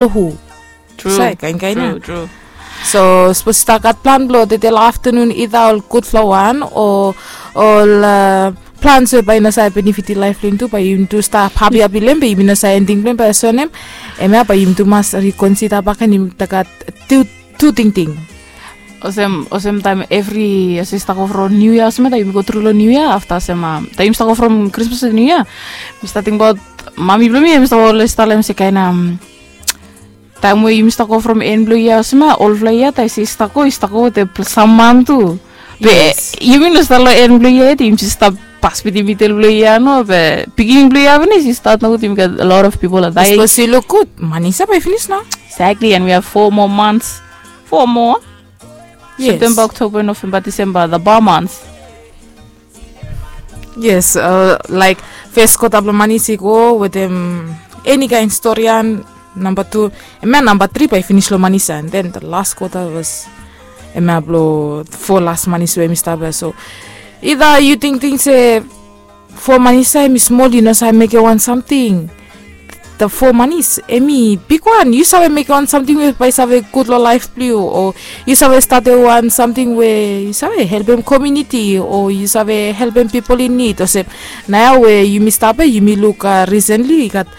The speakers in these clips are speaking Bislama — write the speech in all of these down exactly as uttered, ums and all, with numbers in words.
Hu. Sai kainkain ya. So sapos i stap gat plan blong tedei long aftanun, ida ol gudfala wan o ol plans we bae i no save benefiti laef blong yumi tu, bae yumi tu stap hapihapi long hem be yumi no save enting blong hem, bae i sonim. Hemia bae yumi tu mas rikonsida bak gen, yumi tu gat tu tingting. Olsem olsem taem evri olsem i stap go from niu yia olsem ya, taem yumi go tru long niu yia, afta olsem taem yumi stap go from krismas long niu yia, mi stap tingbaot mami blong mi, hemi stap olsem talem se kaen taem we yumi stap go from en blong yia olsem ya, olfala yia taem i stap go, i stap go wetem sam man tu. Be yumi no stap long en blong yia yet, yumi jes stap pas bitim midel blong yia no, be biginin blong yia finis i stat nogut, yumi gat a lot of pipol i dae. Sapos yu luk gud, manis ya bae i finis nao. Exactly, and we have four more months. Four more. September, October, November, December, the bar months. Yes, laek fes kwota blong manis i go wetem eni kaen storian. Namba tu, hemia namba tri bae i finis long manis ya, and then the last kwota was hemia blong fo las manis we hemi stap ya. So ida yu tingting se fo manis ya hemi smol, yu no save mekem wan samting. The fo manis hemi bigwan, yu save mekem wan samting we bae i save gud long laef blong yu, o yu save statem wan samting we yu save helpem komuniti, o yu save helpem pipol in nid. Olsem naoia we yumi stap ya, yumi luk risentli i gat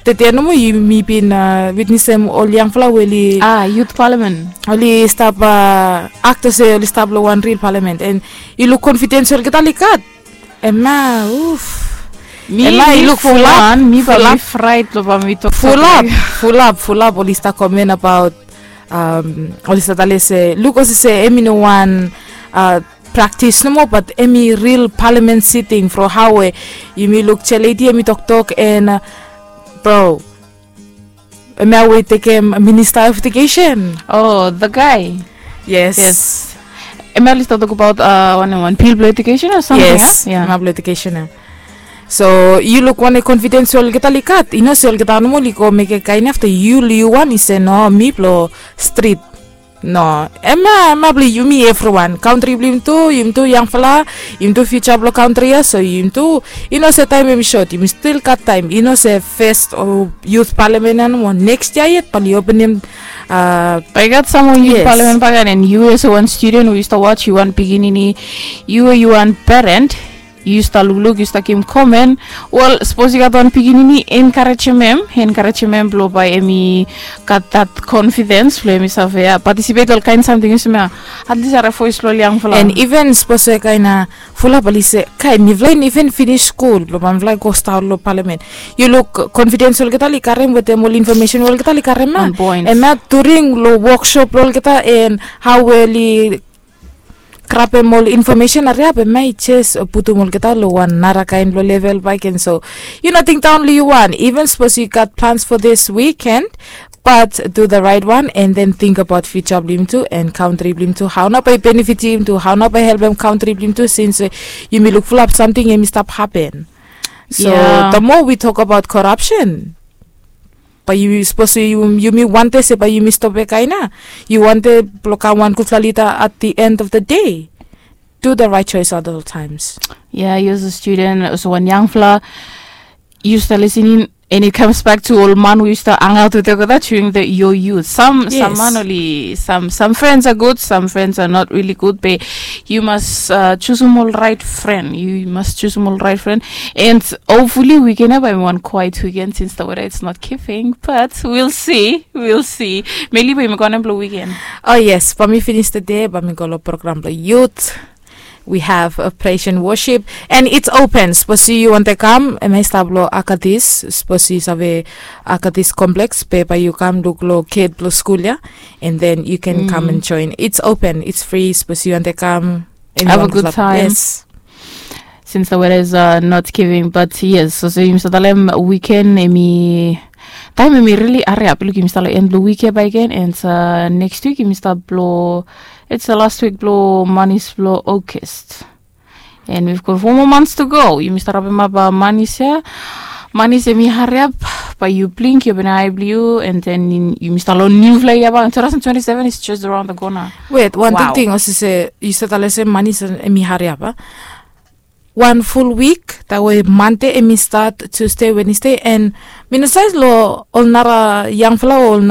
tede nomo yumi bin witnesem ol yangfala we oli, a, yut palamen, oli stap akta se oli stap long wan ril palamen, and yu luk konfidens we olgeta oli gat. Hemia, uf. Mi, hemia i luk fulap, fulap, fulap, fulap oli stap komen abaot, oli stap talem se luk olsem se hemi no wan praktis nomo, bat hemi ril palamen siting from hao we yumi luk Chair Lady hemi toktok, and bro, hemia we i tekem Minista of Edukesen. O, the guy. Yes. Hemia oli stap tokbaot wanem, wan bil blong edukesen o samting ya? Yes, hemia blong edukesen ya. So yu luk wanem konfidens we olgeta oli gat. I no se olgeta nomo oli go mekem kaen ya afta yu, yu wan i se no, mi blong strit. No, hemia, hemia blong yumi evriwan. Kantri blong yumi tu, yumi tu yangfala, yumi tu fiuja blong kantri ya. So yumi tu, i no se taem hemi sot, yumi stil gat taem. I no se fes o yut palamen ya nomo, neks yia yet bae oli openem. Bae i gat sam moa yut palamen bakegen, and yu olsem wan studen we yu stap waj, yu wan pikinini, yu, yu wan peren, yu stap lukluk, yu stap givim komen. Wel, sapos yu gat wan pikinini, enkarejem hem, enkarejem hem blong bae hemi gat that confidence blong hemi save patisipet long ol kaen samting olsem ya. At least harem voes blong ol yangfala. And even sapos we kaen fulap oli se, kae mifala i no even finis skul blong mifala i go stap long palamen. Yu luk confidence olgeta oli karem wetem ol information we olgeta oli karem ya. Hemia during long woksop blong olgeta and hao we oli grabem ol information hariap, hemia i jes putum olgeta long wan narakaen blong level bakegen. So yu no tingting only yu wan. Even sapos yu gat plans for this weekend, but do the right one and then think about future blong yumi tu and kantri blong yumi tu. Hao nao bae i benefit yumi tu, hao nao bae i helpem kantri blong yumi tu, since yumi luk fulap samting hemi stap hapen. So the more we talk about corruption, bae yu, sapos yumi wantem se bae yumi stop kaen ya, yu wantem blong kam wan gudfala lida at the end of the day. Do the right choice at all times. Ya, yu olsem studen, olsem wan yangfala, yu stap lisening, and it comes back to ol man we yu stap hangaot wetem olgeta during the, your youth. Sam, sam man oli, sam, sam frens are good, sam frens are not really good, be yu mas jusum ol raet fren. Yu mas jusum ol raet fren. And hopefully wiken ya bae hemi wan kwaet wiken, since the weather it's not giving, but we'll see, we'll see. Meli, bae yumi go wanem blong wiken? O yes, bae mi finis tede, bae mi go long program blong yut. We have a praise and worship, and it's open. Sapos yu wantem kam, hemia i stap long Akatis. Sapos yu save Akatis Complex, be bae yu kam luk long get blong skul ya, and then you can come and join. It's open, it's free. Sapos yu wantem kam, have a good time. Yes. Since the weather is not giving, but yes, so, so yumi stap talem wiken hemi, taem hemi really hariap. Luk, yumi stap long en blong wik ya bakegen, and next week yumi stap long, it's the last week blong manis blong August. And we've got four more months to go. Yumi stap rapemap manis ya. Manis hemi hariap, bae yu blink, yu openem ae blong yu, and then yumi stap long niufala yia bak. Two thousand twenty-seven is just around the corner. Wet, wan tingting olsem se yu stap talem se manis hemi hariap, a? Wan ful wik, taem we Mande hemi stat, Tusde, Wenesde, and Mi no save long ol nara yangfala o ol